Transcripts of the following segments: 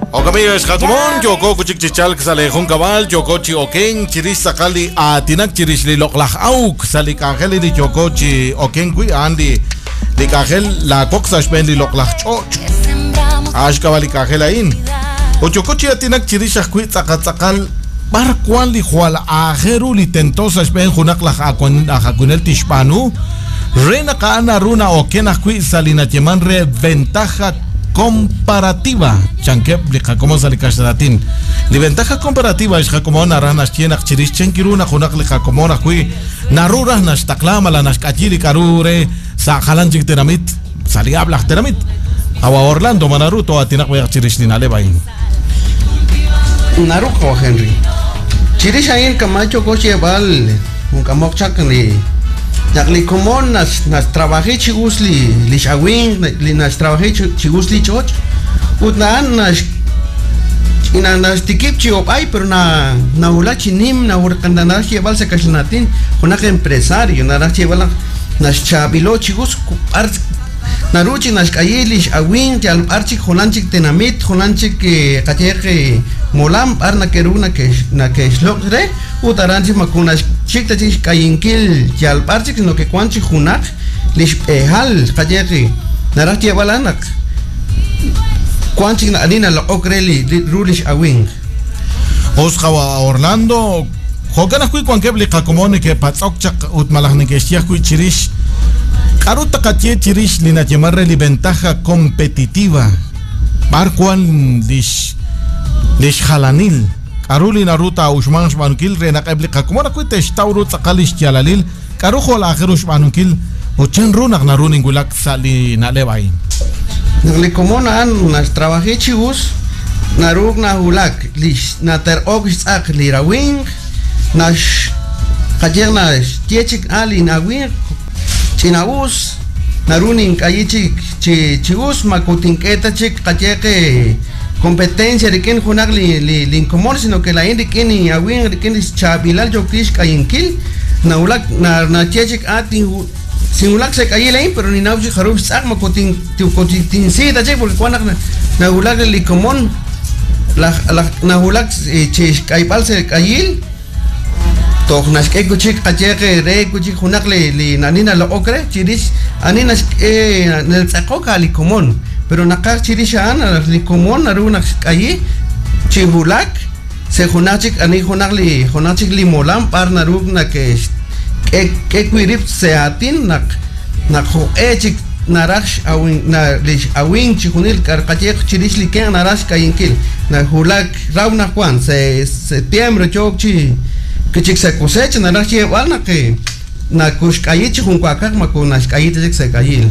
Jo'kan ex qakomon, yooko chik chi chalk sa' li junkab'al, yooko chi okenk chirix tz'aqal li aatinak chirix li loq'laj awk sa' li k'anjel li yooko chi okenk wi' a'an li li k'anjel laawoq sa' xb'een li loq'laj ch'och'. A'an xk'ab'a' li k'anjel a'in. Ut yooko chi aatinak chirix ajwi' tz'aqal tz'aqal b'ar wan li jwal aajel ru li tento sa' xb'een junaq laj awinel tixb'aanu re naq a'an naru na'oken ajwi' sa' li nayeeman re ventaja comparativa, chankeb' li qakomon sa' li kaxlan aatin. Li ventaja comparativa ex qakomon naraj naxye naq chirix chan ru naq junaq li qakomon ajwi' naru raj naxtaqla malaj naxk'ayi li k'a'ru re sa' jalan chik tenamit, sa' li ab'l aj tenamit. Awa Orlando, ma naru too'aatinaq b'ayaq chirix li na'leb' a'in? Naru qawa' Henry. Chirix a'in kama' yooko xyeeb'al jun k'amok chaq li naq li komon naxtrabaji chi us li lix awimq, li naxtrabaji chi us li ch'och' ut a'an nax naxtikib' chi ob'ay pero na nawulak chi nim naraj xyeeb'al sa' kaxlan aatin junaq empresario naraj xyeeb'al naq naxchaab'ilo' chi us b'ar naru chi naxk'ayi lix awimq yal b'ar chik jalan chik tenamit jalan chik qayehaq molam b'ar nake'ru nake'xloq' re ut aran chik moko naxchik ta chik xk'ayinkil yal b'ar chik sino que wan chik junaq li xb'ehal qayehaq naraj xyeeb'al a'an naq wan chik ani naloq'ok re li ru lix awimq. Us qawa' Orlando, jo'kan ajwi' wankeb' li qakomon neke'patz'ok chaq ut malaj neke'xye ajwi' chirix k'a'ru taqaye chirix li nayeeman re li ventaja competitiva, b'ar wan lix lix jalanil, k'a'ru li naru taa'uxmanq xb'aanunkil re naq eb' li qakomon ajwi' te'xtaw ru tz'aqal lix yaalalil, k'a'ru jwal aajel ru xb'aanunkil ut chan ru naq naru ninwulak sa' li na'leb' a'in. Naq li komon a'an naxtrabaji chi us, naru nawulak lix naterq'ok xtz'aq li rawimq, nax qayehaq naxye chik a lin awimq ch'ina'us, naru nink'ayi chik chi chi us moko tink'e ta chik qayehaq competencia rik'in junaq li li linkomon sino que laa'in rik'in inawimq rik'in lix chaab'ilal yookin xk'ayinkil nawulak naye chik a sinwulak sa' k'ayil a'in pero ninnaw chik jarub' xtz'aq moko tinsi ta chik porque wan naq nawulak li komon laj laj nawulak chi xk'ayb'al sa' k'ayil toj naxk'e wi' chik qayehaq re wi' chik junaq li li ani naloq'ok re chirix ani naxk'e natz'aqok a' li komon pero naqaj chirix a'an li komon naru naq xk'ayi chi wulak sa' junaq chik ani junaq li junaq chik li molam b'ar naru nake'xk'e k'e wi' rib' sa' aatin naq naq jo'q'e chik naraj lix awimq chixjunil qayehaq chirix li kenq naraj xk'ayinkil nawulak raw naq wan sa' septiembre yook chi chik sa' cosecha naraj xyeeb'al naq nakuxk'ayi chi junwaakaj moko naxk'ayi ta chik sa' k'ayil.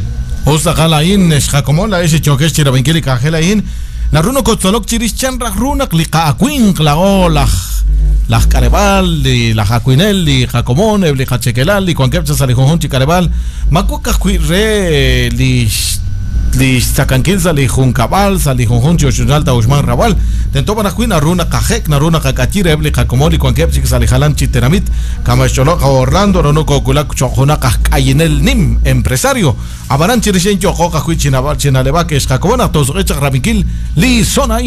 Us tz'aqal a'in, ex qakomon laa'ex li yookex chirab'inkil li k'anjel a'in, naru nokotzolok chirix chan raj ru naq li qa'awinq laa'o laj laj k'aleb'aal, li laj awinel, li qakomon, eb' li qachekelal li wankeb' chaq sa' li junjunq chi k'aleb'aal, ma wok ajwi' re li li xtzakankil sa' li junkab'al, sa' li junjunq chi ochochnaal taa'uxmanq rawb'al. Tento b'an ajwi' naru naqajek', naru naqak'ayi reheb' li qakomon li wankeb' chik sa' li jalan chi tenamit. Kama' xch'olob' qawa' Orlando, naru nokoowulak cho'q junaq aj k'ayinel nim, empresario. Ab'anan chirix a'in yooqo ajwi' chi na'leb'ak ex qakomon naq toosuq'i chaq rab'inkil li son a'in.